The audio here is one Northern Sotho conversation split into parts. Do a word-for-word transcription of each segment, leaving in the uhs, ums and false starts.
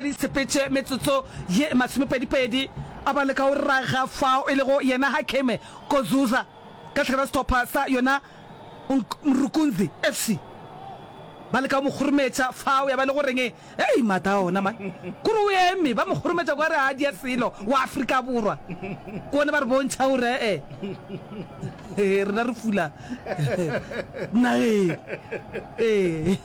Papadi e sepetše metsotso ye masomepedipedi. A ba leka go raga fao e lego yena Hakeme Kozuza ka tlhaka la sehlopha sa yona Mrukunzi F C. Ba leka go mo kgorometša fao, ya ba le go reng, Hei, maatla a ona man! Kore o eme, ba mo kgorometša kwa re a dia selo wa Afrika Borwa. Ke bona ba re bontšha gore ee, rena re fula nageng. Ee.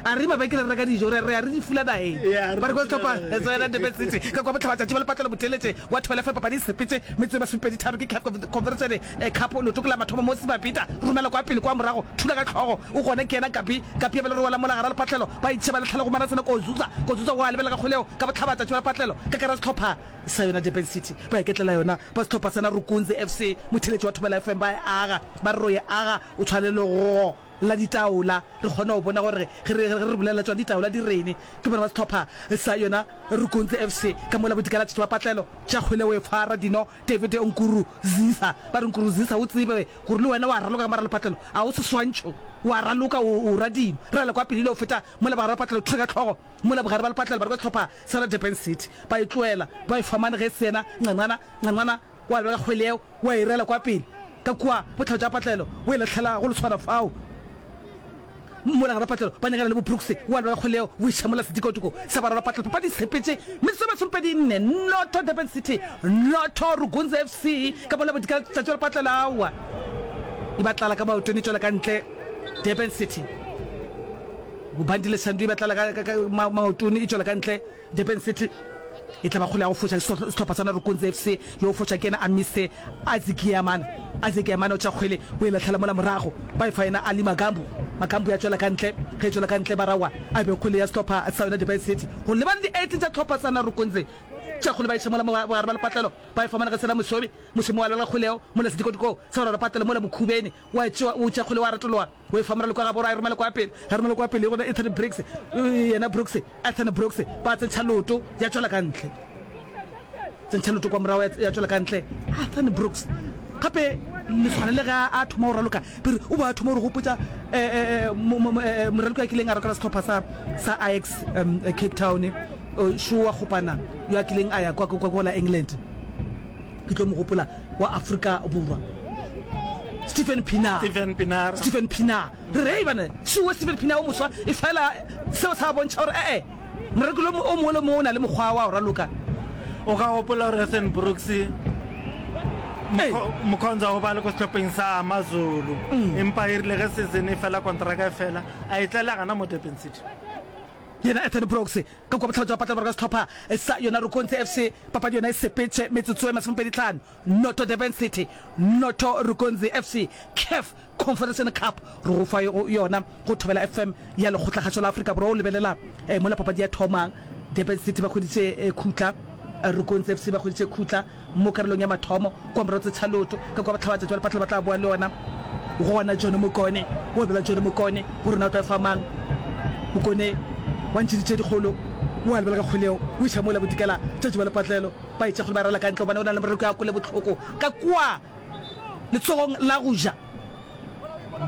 A re mabenkele re reka dijo, re re ya re di fula nageng. Ba re kwa sehlopha sa yona Durban City ka kwa bohlabatšatši ba lepatlelo botheeletše wa Thobela F M papadi e sepetše metsotso e masomepedi tharo ke CAF Confederation Cup leoto ke la mathomo mo Sebapita romela kwa pele kwa morago thula ka hlogo o gona ke yena Gabi Gabi a bela re wela mola gara lepatlelo ba itšhe ba letlhela go Manasene Kozuza Kozuza wa lebelela ka kgoleo ka bohlabatšatši ba lepatlelo ka kara sehlopha sa yona Durban City ba iketlela yona ba sehlopha sa Narukunzi F C motheeletši wa Thobela F M ba e aga ba re ro e aga o tshwane le go la ditaola re kgona go bona gore ge re ge re bolela tšona ditaola di rene ke bona ba sehlopha sa yona Rukunzi F C ka mola bodikela tšatši ba patlelo tša kgwele o e fara dino David Nkurunziza ba re Nkurunziza o tsebe gore le wena wa raloka ka mara lepatlelo a o seswantšho wa raloka o o ra dino rala kwa pele ile o feta mola bogare ba patlelo thula ka hlogo mola bogare ba lepatlelo ba re ka sehlopha sa la Durban City ba e tloela ba e famane ge se yena Ncanqana Ncanqana wa leba ka kgwele yeo wa e rela kwa pele ka kua botlhabo tša patlelo o e lahlela go leswana fao mola gare patlelo ba nyakana le bo Brooks wa leba ka kgwele yeo o iša mola sedikotiko sa barwa ba patlelo papadi e sepetše metsotso e masomepedi nne noto Durban City noto Rugunzi F C ka mola bodikela tšatši la patlelo aowa e ba tlala ka maotong e tšwela ka ntle Durban City Bobandile Shandu e ba tlala ka, ka, ka maotong e tšwela ka ntle Durban City e tla ba kgole ya go foša sehlopha sa Narukunzi F C. Yo foša ke yena Amise Azikiamane. Azikiamane o tša kgwele o e lahlela mola morago. Ba e fa yena Ali Magambu. Magambu ya tšwela ka ntle. Ge e tšwela ka ntle ba rawa a be kgwele ya sehlopha sa yona Durban City. Go lebane di eighteen tša sehlopha sa Narukunzi. Tša kgwele ba iša mola bogare ba lepatlelo. Ba e fa Monagasela Mosomi. Mosomi wa lwela kgwele yeo mola sedikotiko sa boraro patlelo mola Mokhubeni wa tšewa o tša kgwele wa retologa. O e fa moraloki wa gabo gore a e romele kwa pele. Ge a romela kwa pele, gona Ethan Brooks, yena Brooks, Ethan Brooks, ba tsentšha leoto, ya tšwela ka ntle. Tsentšha leoto kwa morago, ya tšwela ka ntle. Ethan Brooks, gape leswana le ge a thoma go raloka, pere o be a thoma go re gopotša moraloki a kileng a rokela sehlopha sa, sa Ajax um, Cape Town, šo wa kgopana yo a kileng a ya kwa, kwa, kwa la England. Ke tlo mo gopola, wa Afrika Borwa, Stephen Pienaar. Stephen Pienaar. Stephen Pienaar. Re re, bana, šuwe Stephen Pienaar o moswa, e fela seo sa bontšha gore ee, moraloki o mongwe le mongwe o na le mokgwa wa go raloka. O ka gopola gore Ethan Brooks Mkhonza o ba le ko sehlopheng sa AmaZulu, empa e rile ge season e fela, kontraka e fela, a e tlela gana mo Durban City. Yena Ethan Brooks ka kua bohlaba jwa patla borwa ka sehlopha sa yona Rukonzi F C. Papadi yona e sepetše metsotso e masomepedi tlhano, noto Durban City, noto Rukonzi F C, CAF Confederation Cup re go fa yona go Thobela F M ya Lekgotlakgašo la Afrika Borwa. O lebelela mola papadi ya thomang, Durban City ba hweditše khutla, Rukonzi F C ba hweditše khutla mo karolong ya mathomo kua morago tse tšhaloto ka kua bohlabatšatši ba lepatlelo ba tla boa le yona gona John Mokone wa bela John Mokone gore na o tla fa mang Mokone wa ntšheditše dikgolo wa lebela ka kgwele o iša mola bodikela tšatši ba lepatlelo ba etša kgole ba rala ka ntle gobane o na le moreko ya kwele bohloko ka kua letsogong la go ja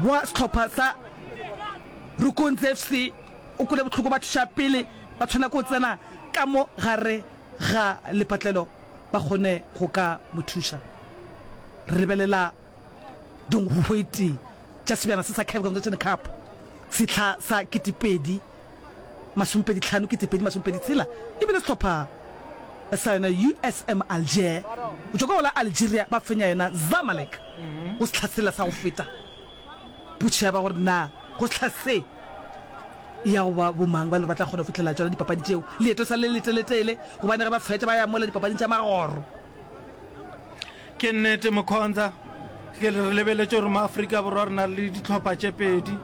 wa sehlopha sa Rukonzi F C o kwele bohloko ba thuša pele ba tshwana ko tsena ka mo gare ga lepatlelo ba kgone go ka mo thuša. Re lebelela dinkgwete tša sebjana se sa CAF Confederation Cup sehla sa ketepedi masomepedi hlano ketepedi masomepedi tshela e bile sehlopha sa yona U S M Alger go tšwa ka go la Algeria ba fenya yona Zamalek go sehla sela sa go feta. Potšišo ya ba gore na go sehla se ya go ba bomang ba le ba tla kgona go fihlelela tšona dipapadi tšeo. Leeto sa le leteletele gobane ge ba fetša ba ya mola dipapading tša magoro. Ke nnete Mokhonza, ke re lebeletše gore mo Afrika Borwa re na le dihlopha tše pedi.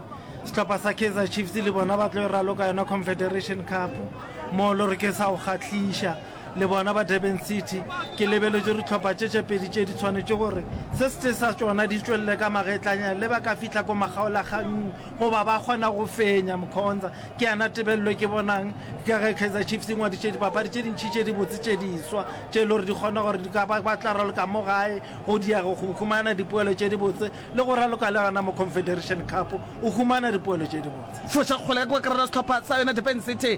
Sehlopha sa Kaizer Chiefs le bona ba tlo e raloka yona Confederation Cup mo le gore ke sa go kgahliša. Le bona ba Durban City, ke lebeletše gore dihlopha tše tše pedi tše di tshwanetše gore se setee sa tšona di tšwelele ka magetlanya le ba ka fihla ko makgaolakganng goba ba kgona go fenya Mkhonza. Ke yana tebelelo e ke bonang ka ge Kaizer Chiefs e ngwadišitše dipapadi tše dintši tše dibotse tše diswa tše e le gore di kgona gore di ka ba ba tla raloka mo gae go dia go humana dipoelo tše dibotse le go raloka le gona mo Confederation Cup o humana dipoelo tše dibotse. Foša kgole ka kua karolo ya sehlopha sa yona Durban City.